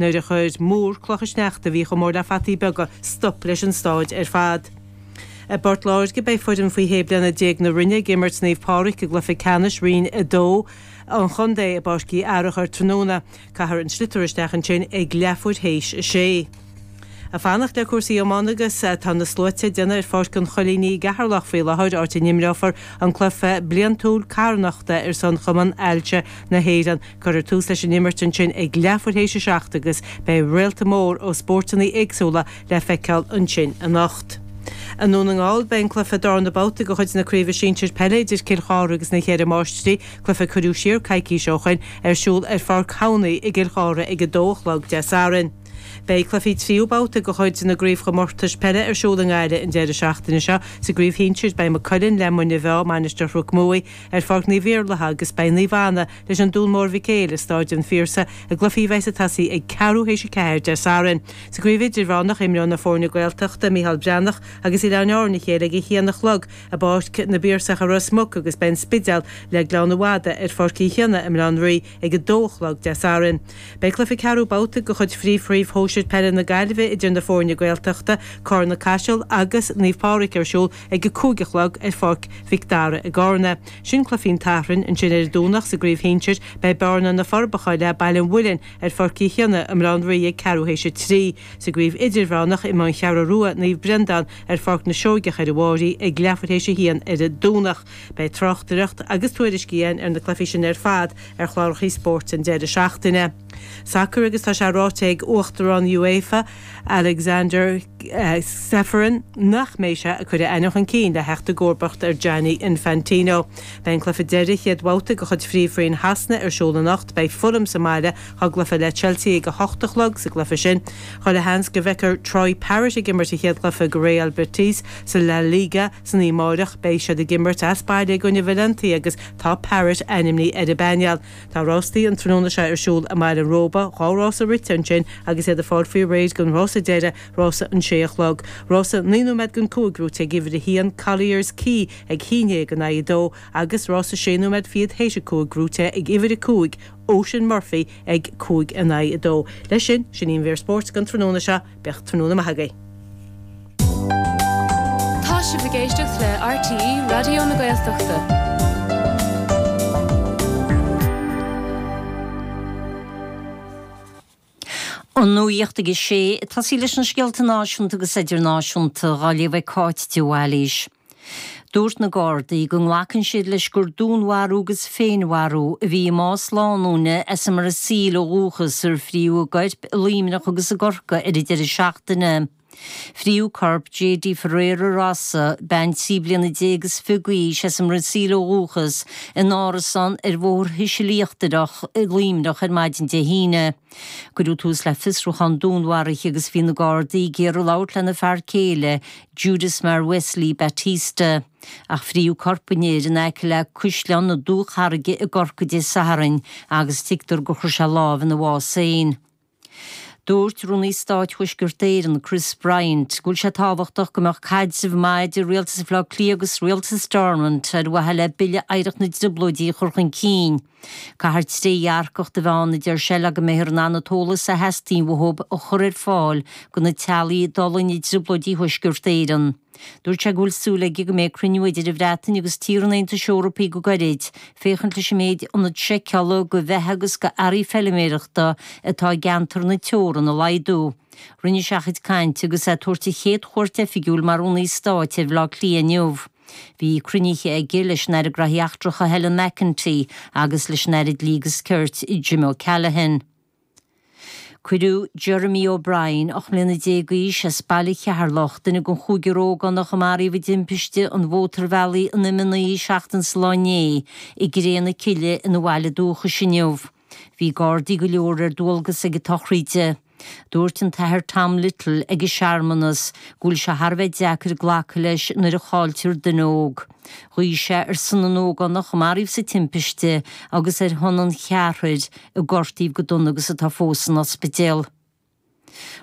Nuair a chuir múr clocha sneachta a bhí chomh mór le fataí beaga stop leis an stáid ar fad. I bPort Láirge beidh foireann faoi shé bliana déag na Rinne ag imirt Naomh Pádraig i gcluiche ceannais Roinn 2 an chontae i bPáirc Uí Fhearacha tráthnóna. Caithfear an sliotar isteach ansin ag leathuair théis a sé. Ag fanacht le cúrsaí iomána agus tá na sluaite ag déanamh ar Pháirc an Choilínigh i gCeatharlach faoi láthair, áit a n-imreofar an cluiche bliantúil carthanachta ar son Chumann Ailse na hÉireann. Cuirfear tús leis an imirt ansin ag leathuair théis a 7 agus beidh réalta mór ó spóirteanna éagsúla le feiceáil ansin anocht. I nDún na nGall, beidh an cluiche darna babhta de chuid na Craoibhe Sinsir Peile idir Cill Chartha agus na Ceithre Máistrí, cluiche a cuireadh siar coicís ó shoin, ar siúl ar Pháirc Thamhnaigh i gCill Chartha ag 2 a chlog Dé Sathairn. Beidh cluichí tríú babhta de chuid na gcraobhchomórtais peile ar siúl i nGaillimh an deireadh seachtaine seo. Sa gcraobh shinsir, beidh Maigh Cuilinn le Muine Mheá, Mainistir Chnoc Muaidh, ar Pháirc Naomh Iarlaithe agus beidh Naomh Anna leis an Dún Mór Mhic Éil i Stáid an Phiarsaigh i gcluichí a bheas ag tosaí ag ceathrú théis 4 Dé Sathairn. Sa gcraobh idirmheánach, imreoidh na foirne Gaeltachta, Micheál Breathnach agus Oileáin Árann a chéile ag a haon a chlog i bPáirc na bPiarsach i Ros Muc agus beidh an Spidéal le Gleann an Mhadaidh ar Pháirc Uí Chionnaith i mBaile Átha an Rí ag a dó a chlog Dé Sathairn. Beidh cluiche ceathrú babhta de chuid Phríomhchraobh Shóisir Peile na Gaillimhe idir na foirne Gaeltachta, Cárna Caiseal agus Naomh Pádraig ar siúl ag a 5 a chlog ar Pháirc Mhic Dara i gCárna. Sin cluichí an tSathairn. Ansin ar an Domhnach sa gcraobh shinsir beidh Bearna Na Forbacha le Baile an Mhuilinn ar Pháirc Uí Chionnaith i mBaile Átha an Rí ag ceathrú théis a 3. Sa gcraobh idirmheánach imeoidh An Cheathrú Rua Naomh Breandán ar Pháirc na Seoigeach ar an bhFáirí ag leathuair théis a haon ar an Domhnach. Beidh tráchtaireacht agus tuairiscí againn ar na cluichí sin ar fad ar chláracha spóirt an deireadh seachtaine. Sacar agus tá sé ráite ag Uachtarán UEFA, Alexander Ceferin, nach mbeidh sé ag cur a ainm chun cinn le theacht i gcomharbacht ar Gianni Infantino. Beidh an cluiche deiridh chéad bhabhta de chuid Phríomhroinn Shasana ar siúl anocht. Beidh Fulham sa mbaile dá gcluiche le Chelsea ag 8 a chlog sa gcluiche sin. Chuile sheans go bhfeicfear Troy Parrott ag imirt a chéad chluiche do Real Betis sa La Liga san oíche amárach. Beidh siad ag imirt as baile i gcoinne Valencia agus tá Parrott ainmnithe ar an bpainéal. Tá rástaí an tráthnóna seo ar siúl i mBaile an Róba, 2 rása rite ansin agus iad ag fáil faoi réir don rása deiridh, rása an sé a chlog. Rása 9 nóiméad don 5 gnóite ag uimhir 1, Collier's Quay ag haon dhéag in aghaidh a dó agus rása sé nóiméad fichead théis a 5 gnóite ag uimhir 5, Ocean Murphy ag 5 in aghaidh 2. Leis sin, sin í an mhír spóirt don tráthnóna seo. Bíodh tráthnóna maith agaibh. Tá sibh ag éisteacht le RTÉ Raidió na Gaeltachta. An nuacht ag a sé, ag tosaí leis na scéalta náisiúnta agus idirnáisiúnta, dhá léamh ag Cáit de Bhailís. Dúirt na Gardaí go nglacann siad leis gur dúnmharú agus féinmharú a bhí i mbás lánúine as an mBrasaíl ó dhúchas ar fríodh a gcoirp i Luimneach agus i gCorcaigh ar an deireadh seachtaine. Fríodh corp Jady Ferreira Rosa, bean 13 bliana is fiche d'aois as an mBrasaíl ó dhúchas, in árasán ar Bhóthar Thuisil Íochtarach i Luimneach ar maidin Dé hAoine. Cuireadh tús le fiosrúchán dúnmharaithe agus bhí na Gardaí ag iarraidh labhairt lena fear céile, Judismar Wesley Batista. Ach fríodh corp an fhir in aice le Caisleán na Dúcharraige i gCorcaigh Dé Sathairn agus tuigtear gur chuir sé lámh ina bhás féin. Dúirt Rúnaí Stáit Thuaisceart Éireann, Chris Bryant, go bhfuil sé tábhachtach go mbeadh caidreamh maith idir Rialtas Bhaile Átha Cliath agus Rialtas Stormont ar mhaithe le Bille Oidhreacht na dTrioblóidí a chur chun cinn. Caithfear trédhearcacht a bheith ann, a deir sé, le go mbeifear in ann an t-eolas a theastaíonn uathu a chur ar fáil do na teaghlaigh a d'fhulaing i dTrioblóidí Thuaisceart Éireann. Dúirt sé go bhfuil súil aige go mbeidh cruinniú idir an Bhreatain agus tíortha an Aontais Eorpaigh go gairid, féachaint leis an méid ionad seiceála do bheatha agus d'earraí feiliméireachta atá i gceantar na teorann a laghdú. Rinne sé a chuid cainte agus é ag tabhairt a chéad chuairt oifigiúil mar Rúnaí Stáit ar Bhaile Átha Cliath inniu. Bhí cruinnithe aige leis an Aire Graithí Eachtracha Helen McEntee agus leis an Aire Dlí agus Cirt Jim O'Callaghan. Cuireadh Jeremy O'Brien, 18 mbliana d'aois, as Baile Cheatharlach, duine den chúigear ógánach a maraíodh i dtimpiste an mhótarbhealaigh in M9 seachtain sa lá inné, i gcré na cille ina bhaile dúchais inniu. Bhí Gardaí go leor ar dualgas ag an tsochraid. Dúirt an tAthair Tom Little ag an searmanas go bhfuil sé thar a bheith deacair glacadh leis nuair a chailltear duine óg. Ghuí sé ar son na n-ógánach a maraíodh sa timpiste agus ar shon an cheathrair a gortaíodh go dona agus atá fós san ospidéal.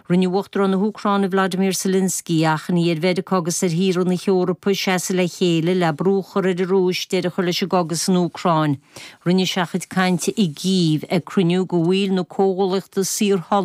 Rinne Uachtarán na hÚcráine Volodymyr Zelensky achainí ar Mheiriceá agus ar thíortha na hEorpa seasamh le chéile le brú a chur ar an Rúis deireadh a chur leis an gcogadh san Úcráin. Rinne sé a chuid cainte i gCív ag cruinniú de bhaill na Comhghuallaíochta Saorthola.